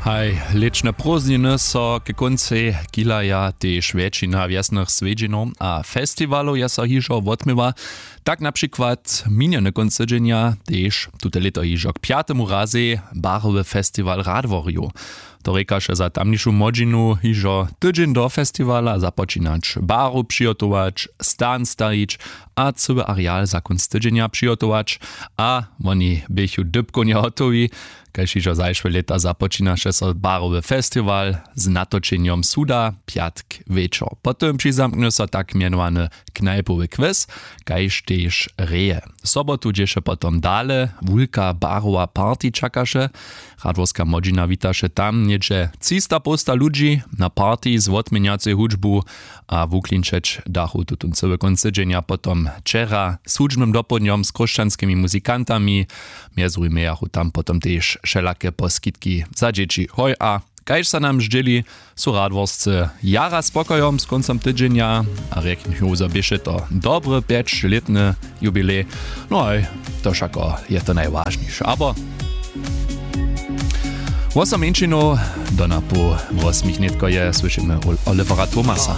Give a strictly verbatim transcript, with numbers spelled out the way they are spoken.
Haj, lětšne prózdniny so k kóncej kihlaja, tež wjetšina wjesnych swjedźenjow a festiwalow je so hižo wotměła. Tak na přikład minjeny kónc tydźenja tež tute lěto hižo k pjatemu razej barowy festiwal radworjow. To rěkaše za tamnišu młodźinu hižo tydźeń do festiwala započinać baru přihotować, stan stajić a cyły areal za kónc tydźenja přihotować. A woni běchu dypkownje hotowi. Kaž hižo zašłe lěta započinaše so barowy festiwal z natočenjom suda pjatk wječor, potom přizamknje so tak mjenowany knajpowy kwez, kaž tež reje. Sobotu dźěše potom dale wulka barowa party čakaše. Radworska młodźina witaše tam něhdźe třista połsta ludźi na party z wotměnjacej hudźbu a wuklinčeć dachu tutón cyły kónc tydźenja potom wčera z hudźbnym dopołdnjom z chróšćanskimi muzikantami. Mjez druhim mějachu tam potom tež wšelake poskitki za dźěći hoj a kaž so nam zdźěli, su radworscy jara spokojom z kóncom tydźenja a rjeknju zo běše to dobry pjećlětny jubilej. No haj, to wšako je to najwažniše abo wosom mjeńšinow do napoł wosmich nětko je słyšimy olivera tomasa.